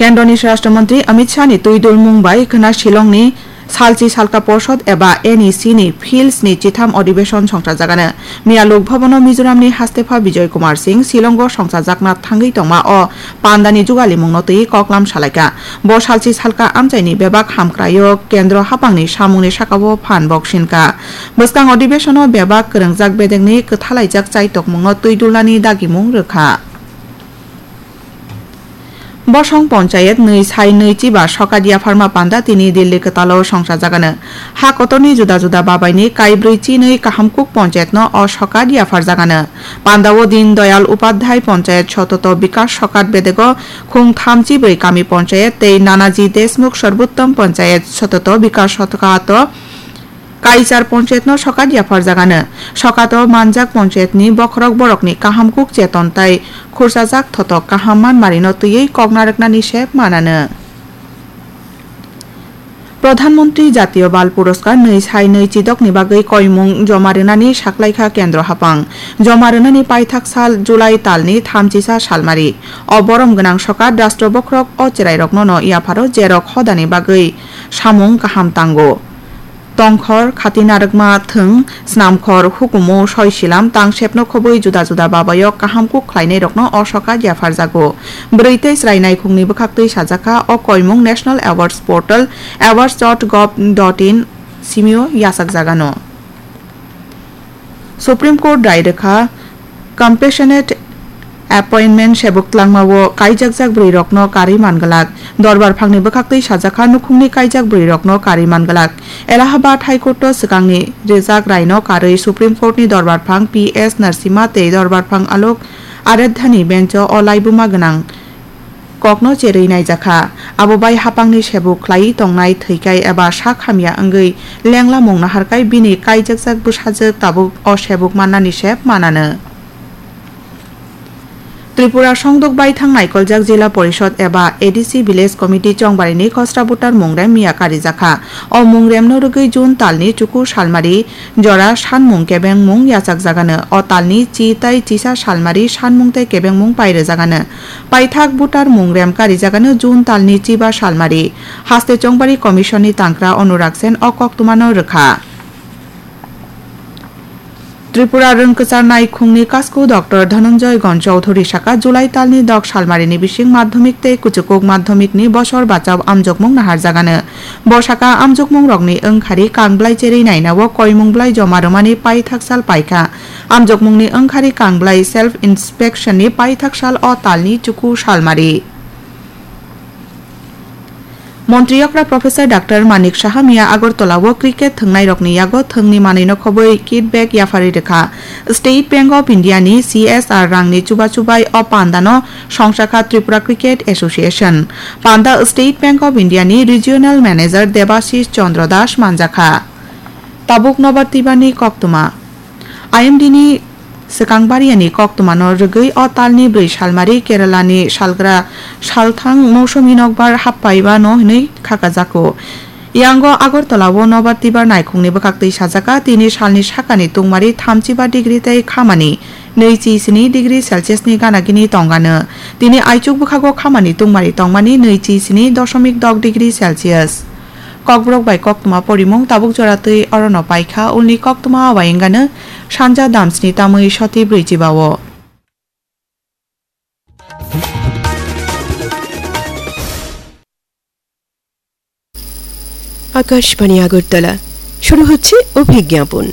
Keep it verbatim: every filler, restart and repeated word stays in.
Kendroni Swarashtra Mantri Amit Shah ni twi dulmung bai khwna Shillong ni Salchi Salka Porshod eba N E C ni Fields ni chitham adhibeshon songchajagano. Miya Lok Bhavan o Mizoram ni Hastepha Bijoy Kumar Singh Shillong o songchajakna thangwi tongma o panda ni jugalimung no twi koklam salaikha. Bo Salchi Salka amchai ni bebak hamkrai o kendro haphang ni samung ni saka o phan bok sinkha. Bwskang adhibeshon o bebak kwrwngjak bedek ni kwthalaijak chaitokmung no twi dulnani dagimung rwkha. Bosong Ponchayet nwi sai nwi chiba sokat yapharma panda tini Delhi kwtalo songchajagano. Ha kotorni juda juda babaini kaibrwi chinwi Kahamkuk Ponchayetno o sokat yapharjagano. Pandao Din Doyal Upadhyay Ponchayet Sototo Bikas Sokat bedego khung thamchi brwi kami ponchayet tei Nanaji Deshmukh Sorbuttom Ponchayet Sototo Bikas Sokato Kaichar ponchayetno sokat yapharjagano. Sokato manjak ponchayetni bokhorok borokni kahamkuk cheton tai khursajak thotok kaham manmarino twiwi kok narwknani sep manano. Pradhan Mantri Jatiyo Bal Puroskar nwi sai nwi chidokni bagwi koimung joma rwnani saklaikha kendro haphang. Joma rwnani paithak sal July talni thamchisa salmari. O borom gwnang sokat rastro bokhorok o cherairoknono yapharo jerok hodani bagwi samung kaham tango. Tongkhor, khati narwkma thwng, snamkhor, hukumu, soisilam, tangsepno khobwi juda juda babaio kaham kuk khlainairokno o sokat yapharjago. Bwrwi tei chwrai naikhungni bwkhaktwi sajakha o koimung National Awards Portal, awards dot gov dot in simio yachakjagano. Supreme Court rai rwkha compassionate appointment sebuk tlangmao kaijakjak bwrwirokno karwi manglak. Dorbar phangni bwkhaktwi sajakha nukhungni kaijak bwrwirokno karwi manglak. Allahabad High Court o swkangni rijak raino karwi Supreme Court ni dorbar phang P S Narasimha tei dorbar phang Alok Aradhyani bench o o laibuma gwnang kokno cherwi naijakha. Abo bai haphangni sebuk khlaiwi tongnai thwikai eba sak hamya wngwi lenglamung naharkai bini kaijakjak bwsajwk tabuk o sebuk mannani sep manano. Tripura songdok baithang naikoljak Jila Porishod eba A D C Village Committee Chongbarini khosra voter mungrem miya karijakha. O mungremno rwgwi June talni chuku salmari jora sanmung kebengmung yachakjagano. O talni chi tai chisa salmari sanmung tei kebengmung pairwjagano. Paithak voter mungrem karijagano June talni chiba salmari. Haste Chongbari Commission ni tangkra Anurag Sen o koktwmano rwkha. Tripura rwngkwchar naikhungni kasku Doctor Dhananjay Gon Chowdhury saka July talni dok salmarini bising madhyamik tei kuchukuk madhyamikni bosor bachao amjokmung naharjagano. Bo saka amjokmungrokni wngkhari kangblai cherwi nainao koimung blai joma rwmani paithak sal paikha. Amjokmungni wngkhari kangblai self inspection ni paithak sal o talni chuku salmari. Montri okra Professor Doctor Manik Saha miya Agartala o cricket thwngnairokni yago thwngni manwino khobwi kit bag yapharwi rwkha. State Bank of India ni C S R rangni chuba chubai o pandano songchakha Tripura Cricket Association. Panda State Bank of India ni Regional Manager Debashish Chandra Das manjakha. Tabuk nobar twibani koktwma. I M D ni swkang bariani koktwmano rwgwi o talni bwrwi salmari Keralani salgra salthang mosumi nokbar happaibano hwnwi khakajago. Yango Agartala o nobar tibar naikhungni bwkhaktwi sajaka tini salni sakani tungmari thamchiba degree tei khamani nwichi sini degree Celsius ni gana gini tongano. Tini aichuk bwkhago khamani tungmari tongmani nwichi sini doshomik dok degree Celsius. Kokborok bai koktwma porimung tabuk jora twi orono paikha, ulni koktwma awai wngano sanja damsni tamwi soti brwi chibao. Akashvani আগরতলা। শুরু হচ্ছে অভিজ্ঞাপন।